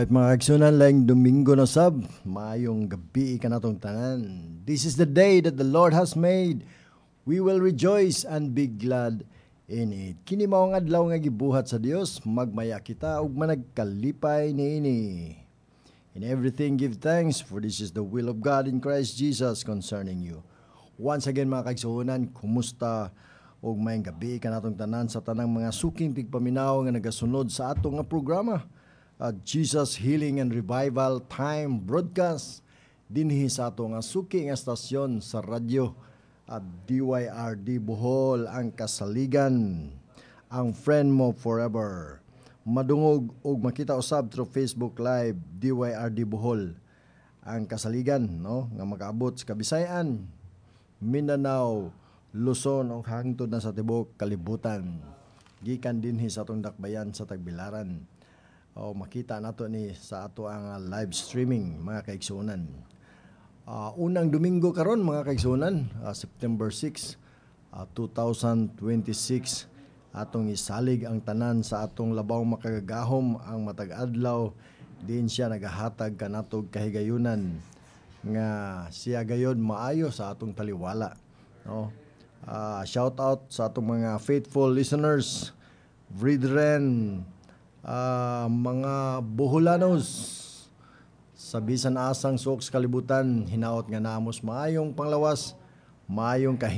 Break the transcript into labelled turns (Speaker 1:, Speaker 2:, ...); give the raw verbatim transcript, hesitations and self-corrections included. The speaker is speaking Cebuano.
Speaker 1: Alright mga kaigsuonan, laing Domingo na sab, maayong gabi kanatong tanan. This is the day that the Lord has made. We will rejoice and be glad in it. Kini mao ang adlaw nga gibuhat sa Dios, magmaya kita ug managkalipay niini. In everything give thanks, for this is the will of God in Christ Jesus concerning you. Once again mga kaigsuonan, kumusta ug maayong gabi kanatong tanan sa tanang mga suking tigpaminaw nga nagasunod sa ato nga programa at Jesus Healing and Revival Time Broadcast dinhi sa ato nga suki nga estasyon sa radyo at DYRD Bohol ang kasaligan ang friend mo forever madungog ug makita usab through Facebook Live DYRD Bohol ang kasaligan no nga makaabot sa Kabisayan Mindanao Luzon ug hangtod na sa tibuok kalibutan gikan dinhi sa atong dakbayan sa Tagbilaran o makita nato ni sa ato ang uh, live streaming mga kaigsuonan. Uh, unang Domingo karon mga kaigsuonan, uh, September six, uh, twenty twenty-six atong isalig ang tanan sa atong labaw makagagahom ang matag adlaw din siya nagahatag kanatog kahigayunan nga siya gayod maayo sa atong taliwala no uh, shout out sa atong mga faithful listeners brethren uh, mga Boholanos sa bisan asang suok sa kalibutan hinaot nga namos maayong panglawas maayong kahi